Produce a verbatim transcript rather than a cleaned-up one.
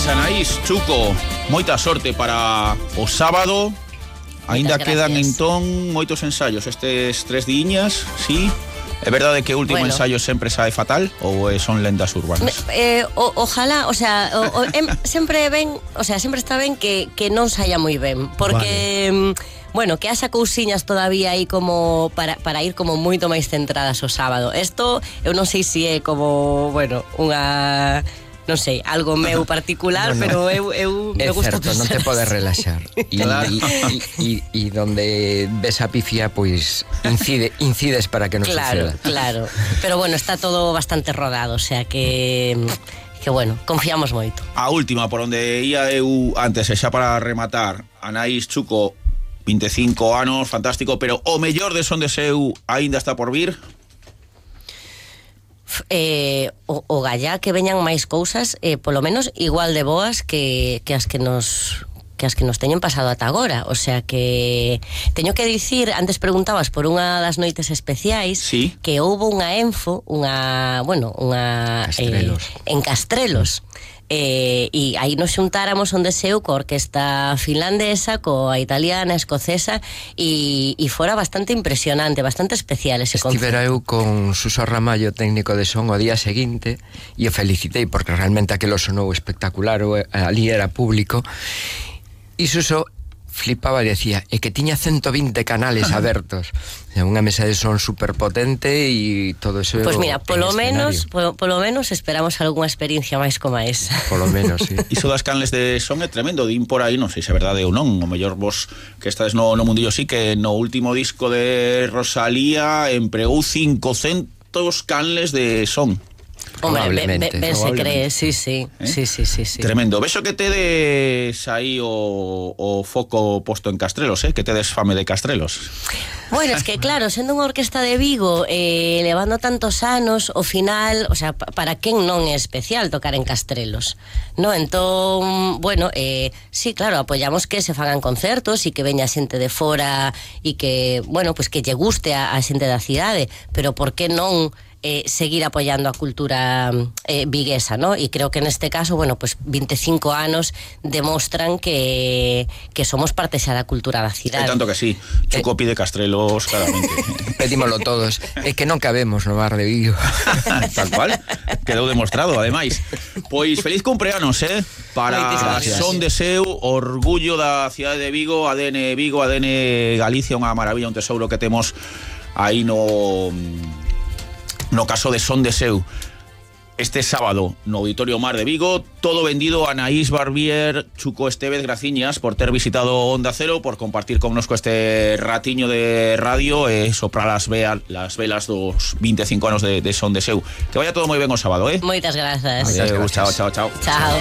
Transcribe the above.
Pois Anaís, Chuco, moita sorte para o sábado. Ainda quedan entón moitos ensaios estes tres diñas, sí. É verdade que o último bueno. ensaio sempre sae fatal ou son lendas urbanas? Eh, o, ojalá, o sea, o, o, em, sempre ben, o sea, sempre está ben que, que non saia moi ben, porque vale. Bueno, que haxa cousiñas todavía aí como para, para ir como moito máis centradas o sábado. Isto, eu non sei se é como, bueno, unha... non sei, algo meu particular, no, no. pero eu, eu me gusta pensar. É certo, non te podes relaxar. E claro. e, e, e donde ves a pifia, pois incide, incides para que non claro, suceda. Claro, pero bueno, está todo bastante rodado, o sea que... que bueno, confiamos moito. A última, por onde ia eu antes, e xa para rematar, Anaís, Chuco, vinte e cinco anos, fantástico, pero o mellor de Son de Seu aínda está por vir? Eh, o, o gallá que veñan máis cousas, eh, polo menos igual de boas que, que as que nos que as que nos teñen pasado ata agora, o sea que teño que dicir, antes preguntabas por unha das noites especiais, sí. que houbo unha Enfo, unha, bueno, unha Castrelos. Eh, en Castrelos. Eh, e aí nos xuntáramos Son de Seu coa orquesta finlandesa, coa italiana, escocesa, e, e fora bastante impresionante, bastante especial ese concerto. Estivera eu con Suso Ramallo, técnico de son, o día seguinte, e o felicitei porque realmente aquilo sonou espectacular, o, ali era público, e Suso flipaba e decía, é que tiña ciento vinte canales abertos, unha mesa de son super potente e todo eso. Pois pues mira, polo menos, polo, polo menos esperamos algunha experiencia máis como esa. Polo menos, sí. Iso das canles de son é tremendo, din por aí, non sei se é verdade ou non, o mellor vos que estades no, no mundillo sí, que no último disco de Rosalía empregou cincocentos canles de son. Hombre, ben, ben se cree, sí, sí, ¿Eh? sí, sí, sí, sí. Tremendo. Vexo que tedes aí o, o foco posto en Castrelos, eh? Que tedes fame de Castrelos. Bueno, es que claro, sendo unha orquesta de Vigo, eh, levando tantos anos, o final, o sea, para quen non é especial tocar en Castrelos, no? Entón, bueno, eh, sí, claro, apoyamos que se fagan concertos e que veña xente de fora e que, bueno, pues que lle guste a, a xente da cidade, pero por que non Eh, seguir apoyando a cultura eh, viguesa, ¿no? Y creo que en este caso, bueno, pues veinticinco anos demostran que, que somos parte xa da cultura da cidade. É tanto que sí, Chuco eh, pide Castrelos claramente. Pedímolo todos, é que non cabemos no bar de Vigo. Tal cual, quedou demostrado, ademais. Pois feliz cumpleanos, eh? Para Son de Seu, orgullo da cidade de Vigo, A D N Vigo, A D N Galicia, unha maravilla, un tesouro que temos aí no... no caso de Son de Seu. Este sábado no Auditorio Mar de Vigo, todo vendido. Anaís Barbier, Chuco Estévez, graciñas por ter visitado Onda Cero, por compartir connosco este ratiño de radio e soprar las, vea, las velas dos veinticinco anos de, de Son de Seu. Que vaya todo moi ben o sábado, eh? Moitas grazas. Adiós, chao, chao, chao. Chao.